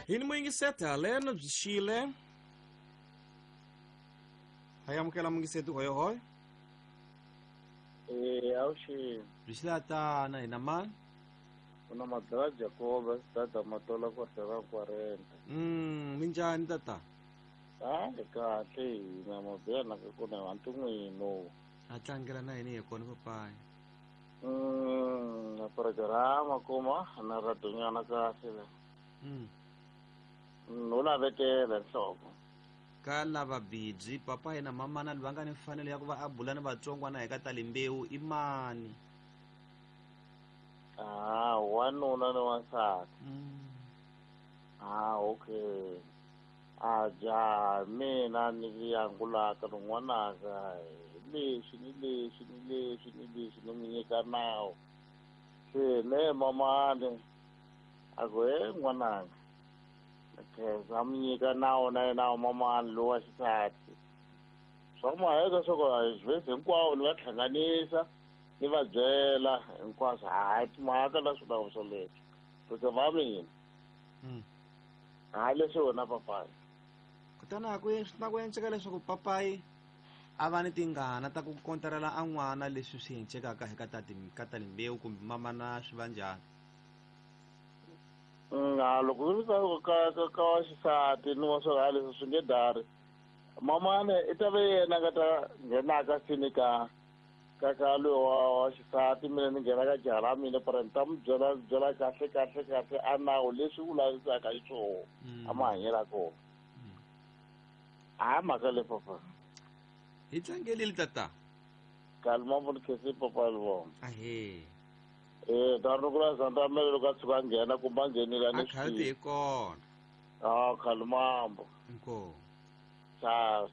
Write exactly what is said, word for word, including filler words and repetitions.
Hi ni muyingiseti haleno byi xile. Ha amukela muyingiseti hoyohoyo. Eh, awuxini. Byi xile tana hina mani? Kuna madala Jacob tata matola kwa sera kwarenta. Mm, minjhani tata? Ah, kahle hina mabena ka kona vantu n'wino. A tlangela na yini hi kona papayi. Mm, na programa kuma na radunyana kahle la. Mm. No lavetela nhloko. Ka lava bibyi papa yena mamana va nga ni mfanelo ya ku va a bula ni vatsongwana hi ka ta limbewu i mani? Ah, wanuna ni wansati. Mm. Ah, okay. A ja mina ni yangulaka rin'wanaka leswi ni leswi ni leswi ni leswi ni mi nyika nawu. Se ne mamani a ku he n'wananga khensa mi nyika nawu na yena mamani lowa xisati. Swa maheka swa ku vhesi hinkwawo ni va hlanganisa ni va byela hinkwaswo hayi timhaka la swi swo leswi kuze va mina. Mm. Hayi leswi wena papayi. Kutani a ku na ku enceka leswaku papayi a va ni tingana ta ku kontarela a n'wana leswi swi encekaka hi ka ta ka ta limbewu kumbe mamana swi va njhani? Nga loko swi ka ka ka ka wa xisati ni wa swo leswi swi nge dari. Mamana i ta ve yena nga ta nghenaka sini ka ka ka loyi wa wa xisati mina ni nghena ka jaha ra mina para ni ta mi byela byela kahle kahle kahle a nawu leswi u lavisaka xiswona a mahanyelo ya kona. Hayi mhaka leyi papa. Hi tlangelile tata. Kalma ni khesi papa Livongo. Ahee. Eh, ta ri kula Zandamele loko a tshuka a nghena kumbe a nghenile a ni A khale hi kona. Ah, Khalimambo. Inkomu. Ciao.